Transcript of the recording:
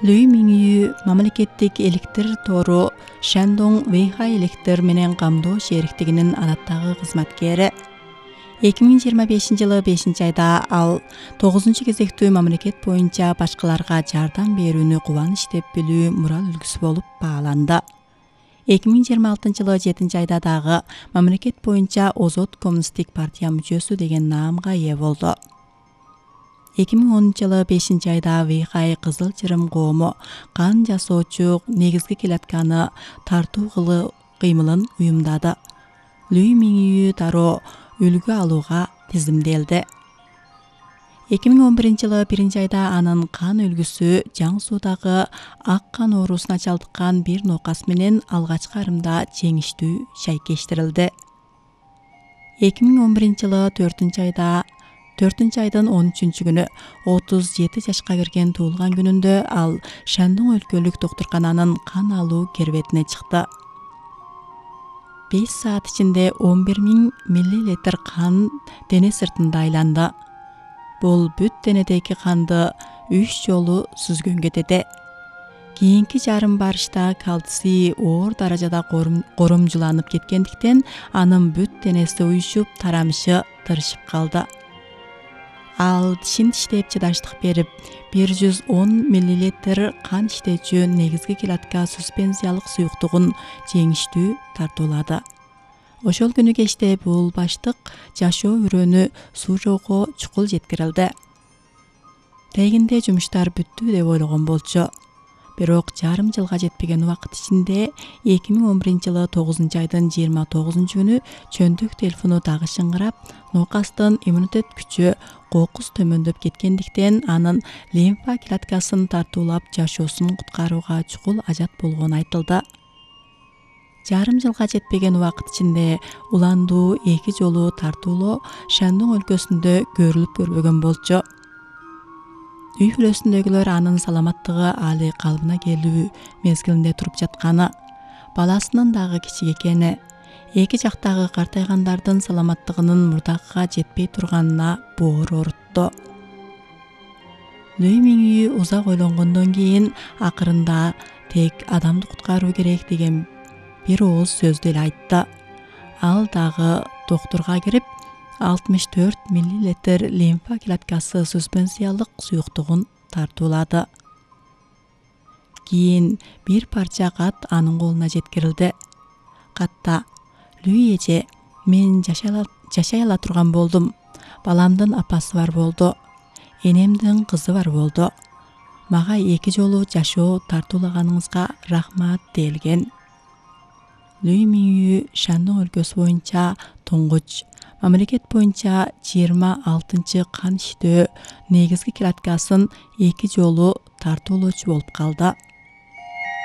Лүй Мингю мамлекеттик электр тору Шандong Вэйхай электр менен камдоо шериктигинин адаттагы кызматкери. 2025-жылы 5-айда ал 9-кезектүү мамлекет боюнча башкаларга жардам берүүнү кубаныч деп билүү мурал үлгүсү болуп бааланды. 2026-жылы 7-айда дагы мамлекет боюнча Озот коммунисттик партия мүчөсү деген наамга ээ болду. 2010-жылы 5-айда Вэйхай Кызыл Чырым коому кан жасоочу негизги клетканы тартуу кыймылын уюмдады. Лүй Мингю дароо үлгү алууга тизимделди. 2011-жылы 1-айда анын кан үлгүсү Жаң Суудагы ак кан оорусуна чалдыккан бир нокас менен алгачкы арымда жеңиштүү шайкештирилди. 2011-жылы 4-айдын 13-күнү 37 жашка кирген туулган күнүндө ал Шандong өлкөлүк доктуркананын кан алуу кербетине чыкты. 5 саат ичинде 11.000 миллилитр кан дене сыртында айланды. Бул бүт денедеги канды 3 жолу сүзгөнгө теде. Кийинки жарым барышта кальций оор даражада коромжуланып кеткендиктен анын бүт денеси уюшуп, тарамышы тырышып калды. Ал тишин тиштеп чыдаштык берип, 110 миллилитр кан иштечү негизги клетка суспензиялык суюктугун жеңиштүү тартуулады. Ошол күнү кечте бул баштык жашоо үрөөнү Сужоого чукул жеткирилди. Тегинде жумуштар бүттү деп ойлогон болчу. Бирок жарым жылга жетпеген убакыт ичинде 2011-жылы 9-айдын 29-күнү чөндүк телефону дагы шыңгырап, нокастын иммунитет күчү кокус төмөндөп кеткендиктен анын лимфа клеткасын тартуулап жашоосун куткарууга чукул ажат болгону айтылды. Жарым жылга жетпеген убакыт ичинде уландуу 2 жолу тартуулоо Шандong өлкөсүндө көрүлүп көрбөгөн болчу. Үй бүлөсүндөгүлөр анын саламаттыгы али калыбына келүү мезгилинде туруп жатканы, баласынын дагы кичик экени, эки жактагы картайгандардын саламаттыгынын мурдакыга жетпей турганына боор оорутtu. Лүй Мингю узак ойлонгондон кийин акырында тек адамды куткаруу керек деген бир ооз сөздү эле айтты. Ал дагы доктурга кирип, 64 миллилитр лимфа клеткасы суспензиялык суюктугун тартуулады. Кийин бир парча кат анын колуна жеткирилди. Катта: "Лүй эже, мен жашай ала турган болдум. Баламдын апасы бар болду. Энемдин кызы бар болду. Мага 2 жолу жашоо тартуулаганыңызга рахмат" делген. Лүй Мингю Шандong өлкөсү боюнча туңгуч, мамлекет боюнча 26 кан иштөө негизги клеткасын 2 жолу тартуулоочу болуп калды.